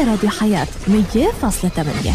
على راديو حياة 100.8.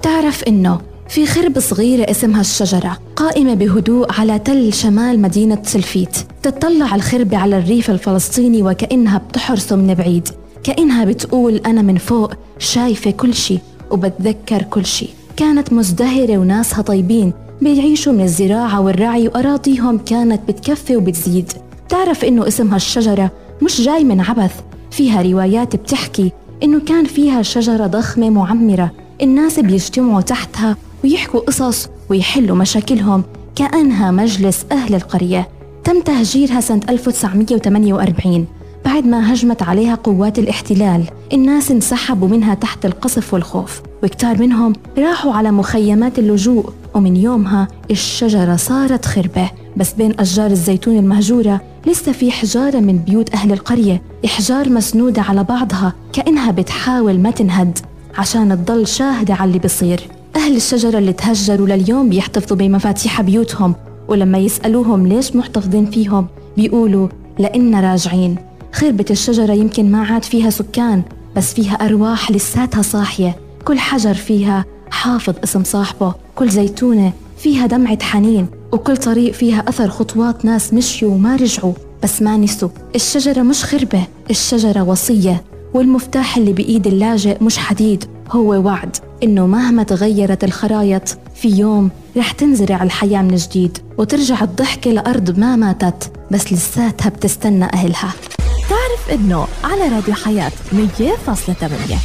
تعرف إنه في خربة صغيرة اسمها الشجرة قائمة بهدوء على تل شمال مدينة سلفيت. تتطلع الخربة على الريف الفلسطيني وكأنها بتحرسه من بعيد، كأنها بتقول أنا من فوق شايفة كل شي وبتذكر كل شي. كانت مزدهرة وناسها طيبين، بيعيشوا من الزراعة والرعي وأراضيهم كانت بتكفي وبتزيد. تعرف إنه اسمها الشجرة مش جاي من عبث، فيها روايات بتحكي إنه كان فيها شجرة ضخمة معمرة، الناس بيجتمعوا تحتها ويحكوا قصص ويحلوا مشاكلهم كأنها مجلس أهل القرية. تم تهجيرها سنة 1948 بعد ما هجمت عليها قوات الاحتلال. الناس انسحبوا منها تحت القصف والخوف، وكتار منهم راحوا على مخيمات اللجوء. ومن يومها الشجرة صارت خربة، بس بين أشجار الزيتون المهجورة لسه في حجارة من بيوت أهل القرية، إحجار مسنودة على بعضها كأنها بتحاول ما تنهد عشان تضل شاهدة على اللي بيصير. أهل الشجرة اللي تهجروا لليوم بيحتفظوا بمفاتيح بيوتهم، ولما يسألوهم ليش محتفظين فيهم بيقولوا لإننا راجعين. خربة الشجرة يمكن ما عاد فيها سكان، بس فيها أرواح لساتها صاحية. كل حجر فيها حافظ اسم صاحبه، كل زيتونة فيها دمعة حنين، وكل طريق فيها أثر خطوات ناس مشيوا وما رجعوا بس ما نسوا. الشجرة مش خربة، الشجرة وصية، والمفتاح اللي بإيد اللاجئ مش حديد، هو وعد إنه مهما تغيرت الخرايط في يوم رح تنزرع الحياة من جديد وترجع الضحكة لأرض ما ماتت بس لساتها بتستنى أهلها. تعرف إنه على راديو حياة 100.8